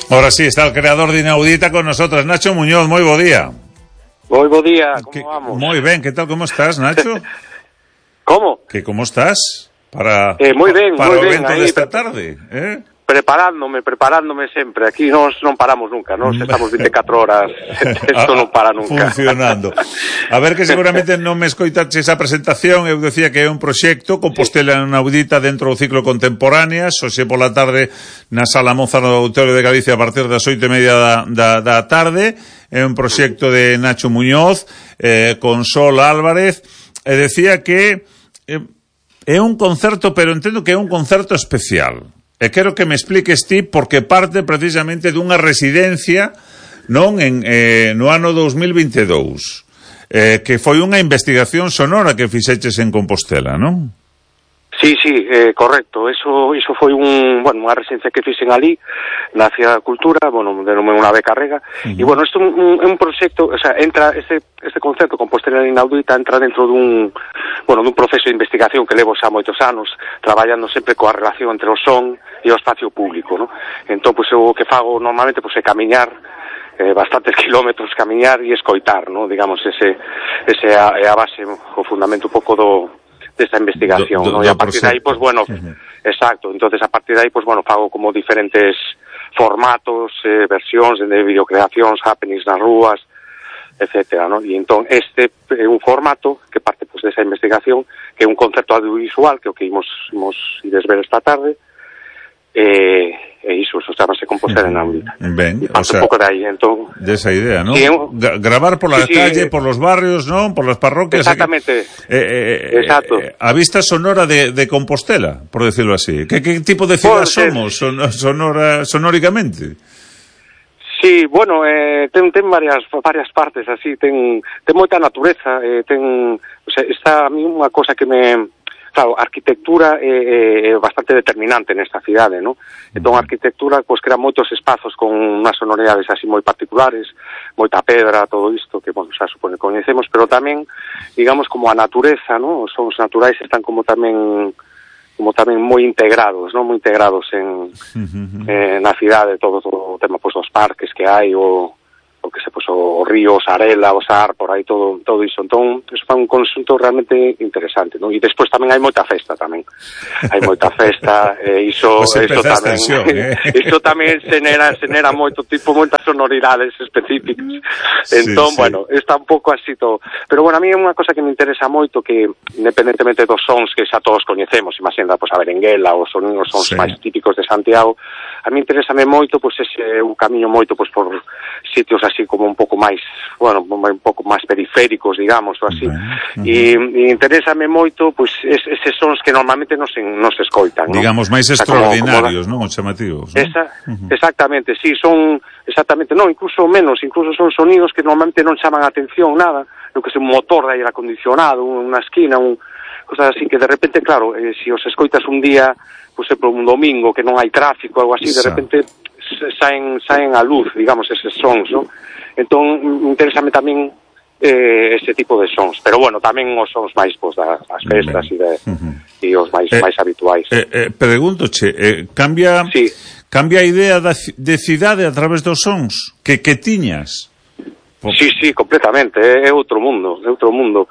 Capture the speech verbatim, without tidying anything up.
Ahora sí, está el creador de Inaudita con nosotros, Nacho Muñoz. Moi bo día. Moi bo día, como que, vamos? Moi ben, que tal, como estás, Nacho? Como? Que como estás para, eh, moi ben, para moi o ben, evento aí, desta pre tarde, eh? Preparándome, preparándome sempre. Aquí nos non paramos nunca, nos estamos veinticuatro horas. Isto non para nunca. Funcionando. A ver, que seguramente non me escoitaches esa presentación. Eu decía que é un proxecto Compostela Inaudita dentro do ciclo Contemporáneas, hoxe pola tarde na Sala Moza no Auditorio de Galicia a partir das oito e media da, da, da tarde. É un proxecto de Nacho Muñoz eh, con Sol Álvarez, e decía que eh, é un concerto, pero entendo que é un concerto especial. E quero que me expliques ti porque parte precisamente dunha residencia non en eh, no ano dos mil veintidous, eh, que foi unha investigación sonora que fixeches en Compostela, non? Sí, sí, eh, correcto. Eso iso foi un, bueno, unha residencia que fixen ali na Cidade da Cultura, bueno, denomé unha beca rega. Uh -huh. E bueno, isto é un, un proxecto, o sea, entra este este concepto Compostela Inaudita entra dentro dun, bueno, dun proceso de investigación que levo xa moitos anos traballando sempre coa relación entre o son e o espacio público, ¿no? Entón, pois, eu o que fago normalmente pois, é camiñar eh, bastantes kilómetros, camiñar e escoitar, ¿no? Digamos, ese, ese é a base, o fundamento un pouco do desta investigación, do, do, ¿no? E a partir de aí, pois, bueno, uh-huh. exacto, entonces a partir de aí, pois, bueno, fago como diferentes formatos, eh, versións de videocreacións, happenings nas rúas, etcétera, ¿no? E entón, este é un formato que parte, pois, desa investigación, que é un concepto audiovisual, que é o que imos, imos ides ver esta tarde, e, e iso, eso chamase Compostela Inaudita. Ben, o sea, un pouco de aí, entón... Desa idea, ¿no? Sí, gravar por la sí, calle, sí, por los barrios, ¿no? Por las parroquias. Exactamente. Eh, eh, Exacto. Eh, a vista sonora de, de Compostela, por decirlo así. ¿Qué, qué tipo de ciudad somos son, sonora, sonóricamente? Sí, bueno, eh, ten, ten varias varias partes así, ten, ten moita natureza, eh, ten, o sea, está a mí unha cosa que me... Claro, a arquitectura é, é bastante determinante nesta cidade, ¿no? Entón, a arquitectura, pois, crea moitos espazos con unhas sonoridades así moi particulares, moita pedra, todo isto, que, bueno, xa supone que coñecemos, pero tamén, digamos, como a natureza, ¿no? Os sons naturais están como tamén como tamén moi integrados, ¿no? Moi integrados en, eh, na cidade, todo, todo o tema, pois, dos parques que hai, o... o que se, pues, o río, o Sarela, o Sar, por aí todo todo iso. Entón, iso é un conxunto realmente interesante, non? E despois tamén hai moita festa tamén. Hai moita festa, e iso, pues iso tamén, tensión, eh? iso tamén xenera, xenera moito tipo, moitas sonoridades específicas. Entón, sí, bueno, sí. Está un pouco así todo. Pero, bueno, a mí é unha cosa que me interesa moito, que independentemente dos sons que xa todos coñecemos, imagina, pois, a berenguela, os sonidos sons sí. máis típicos de Santiago, a mí interésame moito, pois, ese un camiño moito, pois, por sitios así como un pouco máis, bueno, un pouco máis periféricos, digamos, ou así. Uh-huh. E, e interésame moito, pois, es, eses sons que normalmente non se, non se escoitan, ¿no? Digamos, máis extraordinarios, non? Os chamativos, ¿no? Esa, uh-huh. Exactamente, sí, son, exactamente, non, incluso menos, incluso son sonidos que normalmente non chaman a atención, nada, lo que é un motor de aire acondicionado, unha esquina, un, cosas así, que de repente, claro, eh, si os escoitas un día, pois, pues, por un domingo, que non hai tráfico, algo así, de repente saen, saen a luz, digamos, eses sons, ¿no? Entón, interésame tamén eh, ese tipo de sons, pero bueno, tamén os sons máis, pois, das festas e de, uh-huh. e os máis, eh, máis habituais. Eh, eh, Preguntoche, eh, cambia sí. cambia a idea da, de cidade a través dos sons que, que tiñas? Sí, sí, completamente, é outro mundo, é outro mundo.